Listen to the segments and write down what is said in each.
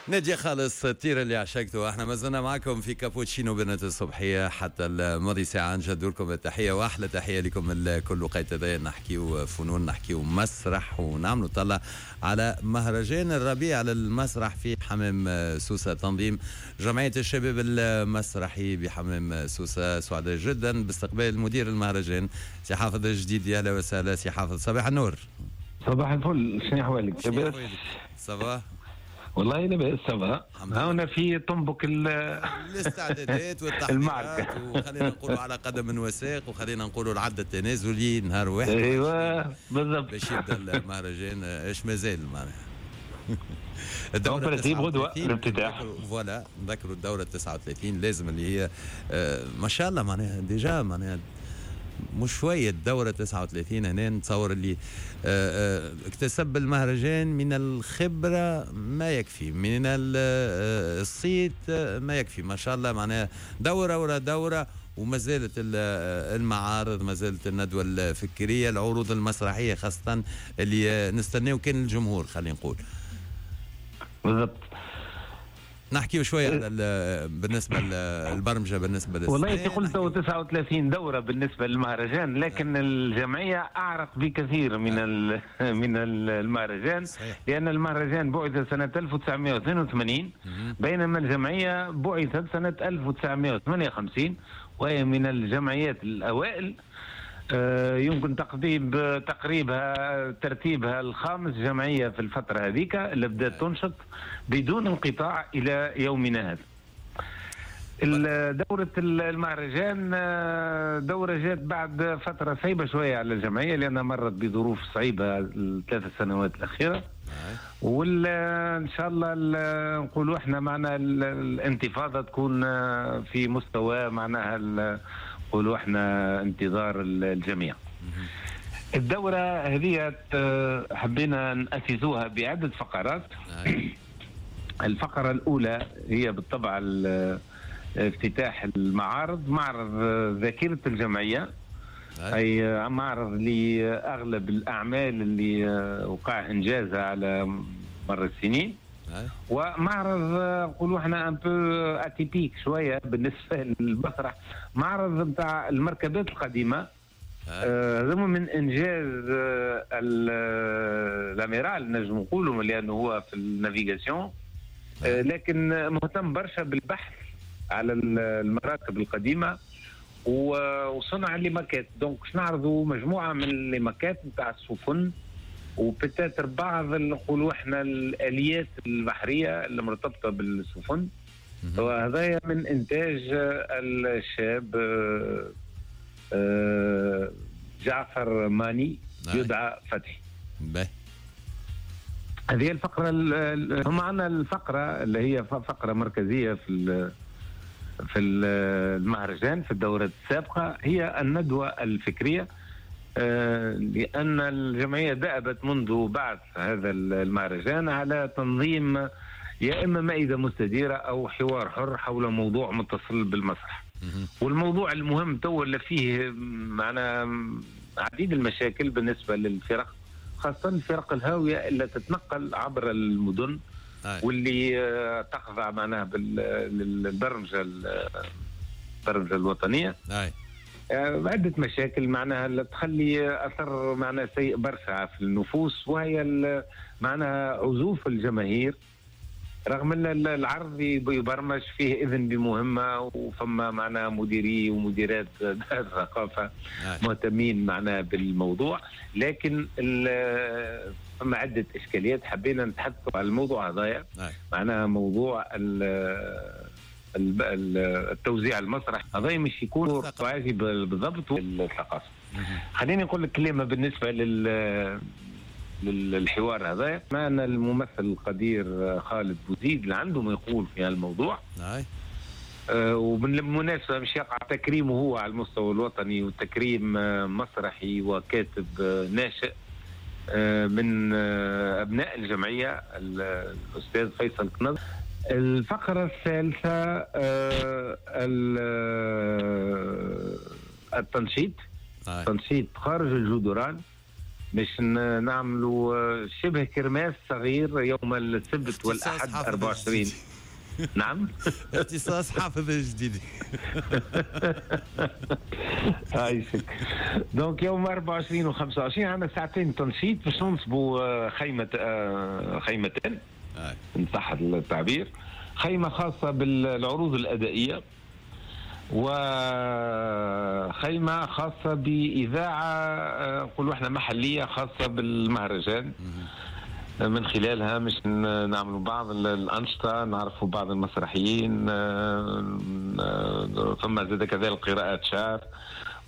نادية خالص، الطير اللي عشقته. احنا ما زلنا معكم في كابوتشينو بنت الصبحية حتى الماضي ساعة. نجدد لكم التحية واحلى تحية لكم الكل. وقيت هذايا نحكيو فنون، نحكيو مسرح، ونعملوا طلع على مهرجان الربيع للمسرح في حمام سوسة، تنظيم جمعية الشباب المسرحي بحمام سوسة. سعداء جدا باستقبال مدير المهرجان سي حافظ الجديد. يا اهلا وسهلا سي حافظ، صباح النور. صباح الفل، شنو احوالك؟ لاباس؟ ça va؟ والله لاباس، ça va. هنا في طنبك الاستعدادات والتحضيرات، وخلينا نقولوا على قدم وساق، وخلينا نقولوا العد التنازلي نهار واحد. ايوه بالضبط، باش يبدا المهرجان. ايش مازال معناها؟ الدورة غدوة الافتتاح. voilà، نذكروا الدورة 39 لازم اللي هي ما شاء الله معناها déjà معناها مش شوية الدورة 39. هنا نتصور اللي اكتسب المهرجان من الخبرة ما يكفي، من الصيت ما يكفي، ما شاء الله معناها دورة ورا دورة، وما زالت المعارض، ما زالت الندوة الفكرية، العروض المسرحية خاصة اللي نستناو كان الجمهور، خلينا نقول. بالضبط. نحكيو شوية على بالنسبة للبرمجه بالنسبة للسنة. والله انت قلت 39 دوره بالنسبة للمهرجان، لكن الجمعية اعرق بكثير من المهرجان. صحيح. لان المهرجان بعث سنة 1982، بينما الجمعية بعثت سنة 1958، وهي من الجمعيات الاوائل. يمكن تقريبها ترتيبها الخامس جمعية في الفترة هذيك اللي بدأت تنشط بدون انقطاع إلى يومنا هذا. دورة المهرجان دورة جات بعد فترة صعيبة شوية على الجمعية، لأنها مرت بظروف صعيبة الثلاث سنوات الأخيرة. وإن شاء الله نقولوا احنا معنا الانتفاضة تكون في مستوى معناها نقولوا احنا انتظار الجميع. الدورة هذه حبينا نأسسوها بعدة فقرات. الفقرة الأولى هي بالطبع افتتاح المعارض، معرض ذاكرة الجمعية، أي معرض لأغلب الأعمال اللي وقع إنجازها على مر السنين، ومعرض نقولوا احنا un peu atypique شوية بالنسبة للمسرح، معرض نتاع المركبات القديمة. هذا من انجاز l'amiral نجم نقولوا، لانه هو في ال navigation، لكن مهتم برشا بالبحث على المراكب القديمة وصنع les maquettes. donc نعرضوا مجموعة من les maquettes نتاع السفن و peut-être بعض نقولوا احنا الاليات البحرية اللي مرتبطة بالسفن. وهذا من انتاج الشاب جعفر ماني يدعى فتحي. هذه الفقرة. هم عندنا الفقرة اللي هي فقره مركزية في المهرجان في الدورة السابقة، هي الندوة الفكرية، لأن الجمعية دأبت منذ بعث هذا المهرجان على تنظيم يا إما مائدة مستديرة أو حوار حر حول موضوع متصل بالمسرح. والموضوع المهم تو اللي فيه معنا عديد المشاكل بالنسبة للفرق، خاصة الفرق الهاوية اللي تتنقل عبر المدن واللي تخضع معناها للبرمجة الوطنية. عدة مشاكل معناها اللي تخلي أثر معناها سيء برشا في النفوس، وهي معناها عزوف الجماهير، رغم أن العرض يبرمج فيه إذن بمهمة، وفما معناها مديري ومديرات دار الثقافة مهتمين معناها بالموضوع، لكن فما عدة إشكاليات حبينا نتحدثوا على الموضوع هذايا. معناها موضوع التوزيع المسرح هذا مش يكون واجب بالضبط الثقافة. خليني نقول لك كلمة بالنسبة للحوار هذا. معنا الممثل القدير خالد بوزيد اللي عنده ما يقول في الموضوع. وبالمناسبة مش يقع تكريمه هو على المستوى الوطني، وتكريم مسرحي وكاتب ناشئ من أبناء الجمعية الأستاذ فيصل كنز. الفقرة الثالثة التنشيط، تنشيط خارج الجدران. باش نعملوا شبه kermesse صغير يوم السبت والاحد 24. نعم، اختصاص حافظ الجديد. عايشك. donc يوم 24 و 25 عندنا ساعتين تنشيط باش ننصبوا خيمتين ان صح التعبير، خيمة خاصة بالعروض الادائيه وخيمة خاصة باذاعة نقولوا احنا محليه خاصة بالمهرجان، من خلالها مش نعملوا بعض الأنشطة، نعرفوا بعض المسرحيين، ثم زاد كذلك قراءات شعر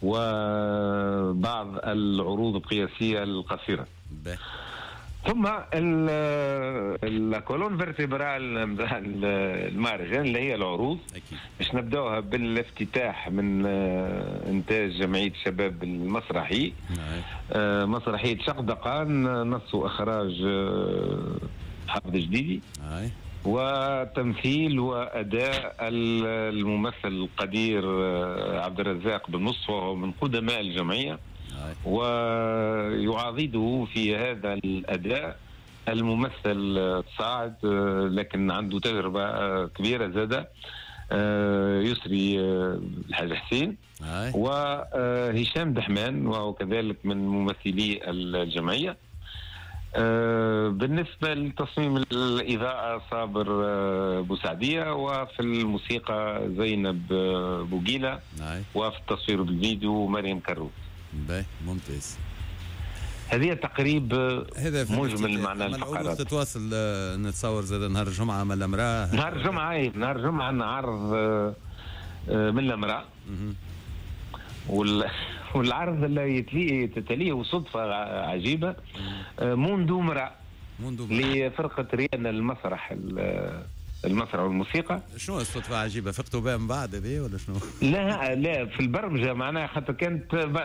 وبعض العروض القياسية القصيرة. ثم ال colonne vertébrale المهرجان اللي هي العروض، باش نبداوها بالافتتاح من انتاج جمعية الشباب المسرحي، مسرحية شقدقان، نص واخراج حافظ جديدي، وتمثيل واداء الممثل القدير عبد الرزاق بن مصطفى، وهو من قدماء الجمعية، ويعاضده في هذا الأداء الممثل الصاعد لكن عنده تجربة كبيرة زادة يسري الحاج حسين، وهشام دحمان وهو كذلك من ممثلي الجمعية. بالنسبة لتصميم الإضاءة صابر بوسعدية، وفي الموسيقى زينب بوغيلة، وفي التصوير بالفيديو مريم كروت. باهي، ممتاز. هذه تقريب مجمل معنى الفقرات. تتواصل نتصور زاد نهار الجمعة من الأمراء. نهار الجمعة، نهار الجمعة عندنا عرض من الأمراء، والعرض اللي تليه صدفة عجيبة منذ امرأة لفرقة ريان المسرح المسرح والموسيقى. شنو الصدفة عجيبة؟ فقتوا بها من بعد هذه ولا شنو؟ لا لا، في البرمجة معناها، خاطر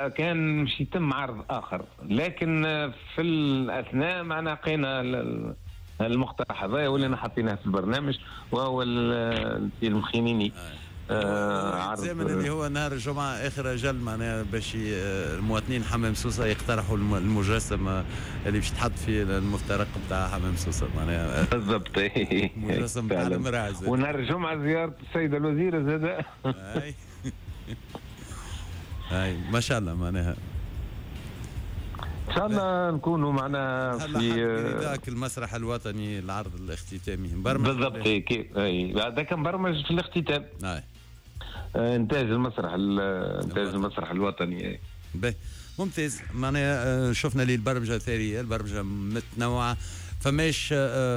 كان مش يتم عرض آخر، لكن في الأثناء معناها لقينا المقترح هذا ولينا حطيناه في البرنامج، وهو الفيلم خينيني. عرض اللي هو نهار الجمعة آخر أجل معناها باش المواطنين حمام سوسة يقترحوا المجسم اللي باش يتحط في المفترق بتاع حمام سوسة معناها. بالضبط، مجسم بتاع المرأة. ونهار الجمعة زيارة السيدة الوزيرة زادة. أي ما شاء الله معناها. ان شاء الله نكونوا معنا في ذاك المسرح الوطني العرض الاختتامي مبرمج. بالضبط، كيف هذاك مبرمج في الاختتام. انتاج المسرح، انتاج المسرح الوطني. باهي، ممتاز. معناها شفنا لي البرمجة ثرية، البرمجة متنوعة، فماش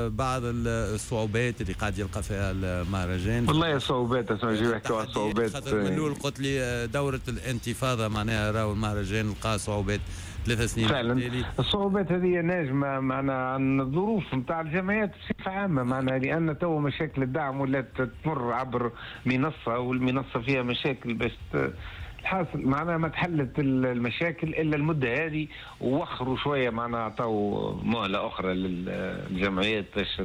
بعض الصعوبات اللي قاعد يلقى فيها المهرجان؟ والله الصعوبات، اسمع نجيو نحكيو على الصعوبات. خاطر من الاول قلت لي دوره الانتفاضة معناها راهو المهرجان لقى صعوبات 3 سنين فعلا. الصعوبات هذه ناجمة معنا عن الظروف نتاع الجمعيات بصفة عامة، معنا لان تو مشاكل الدعم ولات تمر عبر منصة، والمنصه فيها مشاكل باش الحاصل معناها ما تحلت المشاكل الا المدة هذه، ووخروا شوية معناها عطاو مهله اخرى للجمعيات باش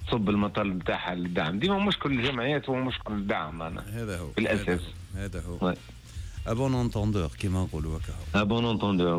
تصب المطالب نتاعها للدعم. ديما مشكل الجمعيات هو مشكل الدعم معناها، هذا هو بالاساس. هذا هو à bon entendeur كيما نقولوا هكا. à bon entendeur.